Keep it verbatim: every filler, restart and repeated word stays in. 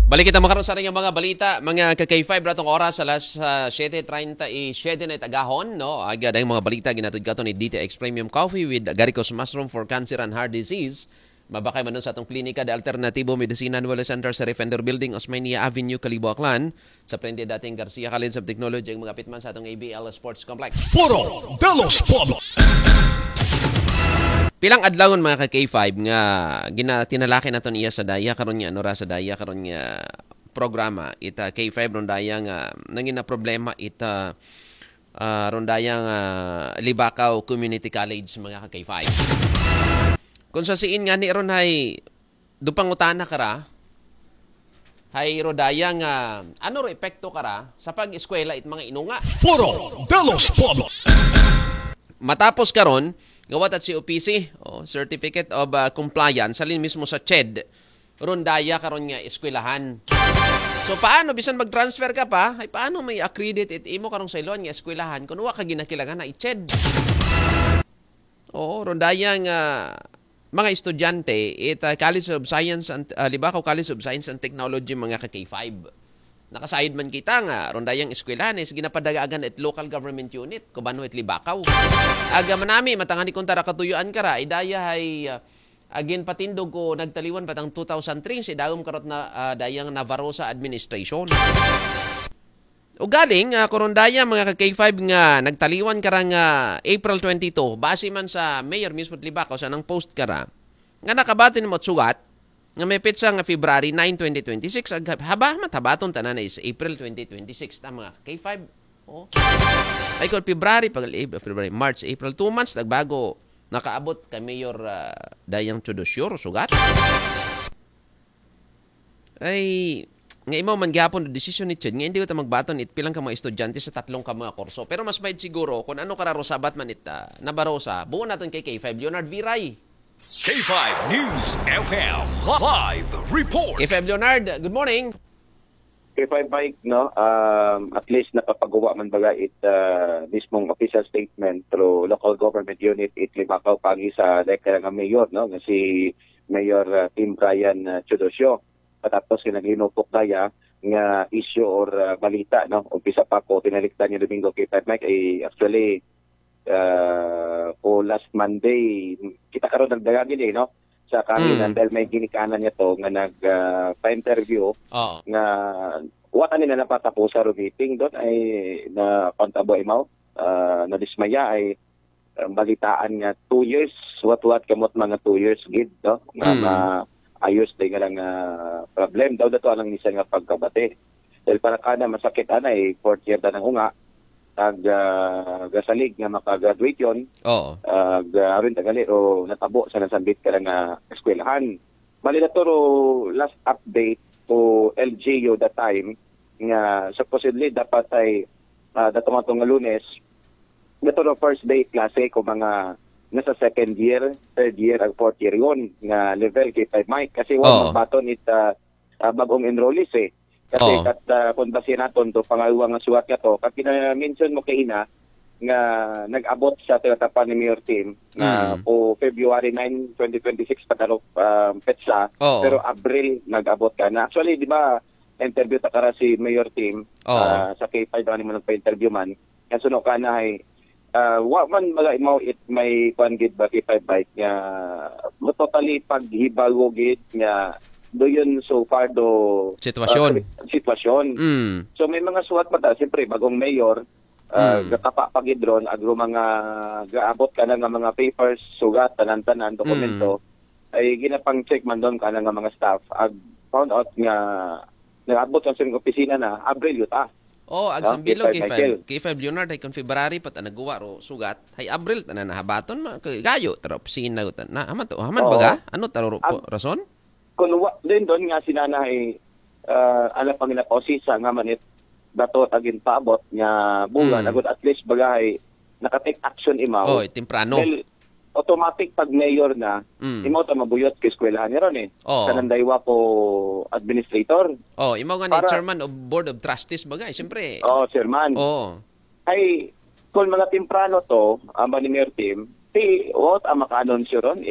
Balik kita makaron sa ating mga balita, mga ka-K five, ratong oras alas ah, siyete treinta y siete na it agahon, no? Aga dayong mga balita ginatod kato ni D T X Premium Coffee with Agaricos Mushroom for Cancer and Heart Disease. Mabakay man nun sa atong klinika de Alternatibo Medicina Nuevo Center sa Defender Building, Osmeña Avenue, Kalibo, Aklan. Sa frente dating Garcia College of Technology, ang mga pitman sa atong A B L Sports Complex. Foro de los Pueblos. Pilang adlawon, mga ka-K five, nga ginatinalaki naton iya sa daya karon nga ano ra sa daya karon nga programa ita K five ron daya nga nangina problema ita ah, ron daya nga Libacao Community College, mga ka-K five. Kung sa siin nga ni ron hay dupangutana kara, hay ro daya nga ano ro epekto kara sa pag-eskwela it mga inunga. Foro de los Pueblos. Matapos karon, gawat at C O P C, oh, Certificate of ah, Compliance, halin mismo sa CHED, ron daya karon nga eskwelahan. So paano bisan mag-transfer ka pa, ay paano may accredit it imo karong sayloan nga eskwelahan kung wa ka ginakilangan na i-CHED? Oo, ron daya nga mga estudyante it ah, College of Science and ah, Libacao College of Science and Technology, mga ka-K five. Nakasayod man kita nga ron dayang eskwelahan is ginapadagagan it local government unit, kubano it Libacao. Aga manami, matangani kung tara katuyuan kara, idaya hay ah, agin patindog ko nagtaliwan patang two thousand three, si dagom karot na ah, dayang Navarroza administration. O galing, ah, kurundaya mga ka-K five nga nagtaliwan karang ah, April twenty-two, base man sa mayor mismo Libacao sa nang post kara, nga nakabati nimo sugat, nga may petsa nga February nine, twenty twenty-six, ag haba, matabaton tanan na is April twenty twenty-six, ta mga K five. Oh. Ay, kung February, pag February, March, April, two months, nagbago, nakaabot kay Mayor ah, Dayang Teodosio, sugat. Ay, nga imaw man gihapon ang desisyon ni CHED nga hindi ko ta magbaton it pilang ka mga estudyante sa tatlong ka mga kurso. Pero mas maid siguro kung ano kararo sabat man it ah, Navarroza. Buo naton kay K five Leonard Viray. K five News F M live report. K five Leonard, good morning. K five Mike, no? Um, at least napapagawa man baga it ah, mismong official statement through local government unit it Libacao pagi sa dayang nga mayor, no? Nga si Mayor ah, Tim Brian ah, Teodosio. Patapos nga naglinupok daya nga issue or ah, balita, no? Umpisa pa ko tinalikdan nga Domingo K five Mike ay actually ah, ko last Monday, kita karon nagdagagin eh, no? Sa kanan Mm. dahil may ginikanan niya to nga nag ah, pa-interview Oo. nga wa ta nila napatapusa ro meeting doon ay na pantabo imaw ah, nadismaya ay ah, balitaan nga two years, what-what kamot mga two years gid, no? Nga Mm. maayos day nga lang ah, problem daw dato anang misa nga pagkabati. Dahil para kana masakit ana eh, fourth year ta nang unga, ag ah, gasalig nga makagraduate yon Oo. ag ah, aron tagali o natabo sa nasambit ka nga eskwelahan. Bali na to ro last update ko L G U that time nga supposedly dapat ay ah, datong atong nga Lunes, dato ro first day klase ko mga nasa second year, third year, ag fourth year yon nga level K five Mike kasi wa Oo. magbaton it ah, ah, bagong enrollees eh. Kasi Oo. kat ah, kung base naton to pangaywa nga suwat nga to, kat kina-mention mo kaina nga nag-abot sa tinatapan ni Mayor Tim na Mm. ko February nine, twenty twenty-six pa taro ah, petsa, Oo. pero Abril nag-abot ka na. Actually, di ba, interview ta kara si Mayor Tim Oo. ah, sa K five ang mo nagpa-interview man. Kaya suno ka na ay ah, wa man mga imaw it may kwan gid ba K five Mike nga mo totally paghibago gid nga do yun so far do Sitwasyon. ah, sitwasyon. Mm. So may mga suwat pa ta, siyempre bagong mayor, ah, Mm. gatapa pa gid ron, agro mga gaabot ka na nga mga papers, sugat, tanan-tanan, dokumento, Mm. ay ginapang-check man doon ka na nga mga staff, ag found out nga nag-abot ang sining opisina na, Abril yuta. Oh, ag No? Sambilo, K five K five, Michael. K five Leonard, ay kung February pa ta nagguwa ro sugat, hay Abril ta na nahabaton, ma, kay gayo, tara opisina, ta na, haman to, haman Oo. baga? Ano taro ro po, Ag- rason? Kung wa, din doon nga sinana ay ah, ala pang ginapausisa nga manit dato agin paabot nga bulan, Mm. agud at least baga ay naka-take action imaw. Oh, temprano. Dahil automatic pag mayor na, Mm. imaw ta mabuyot ka eskwelahan ni ron eh. Oo. Sa Nandaywa po administrator. Oh, imaw nga ni Para chairman of board of trustees bagay, siyempre. Oo, chairman. Oo. Ay, kung mga temprano to, ang ni Mayor Tim, ti, what ang maka-anunsyo ron?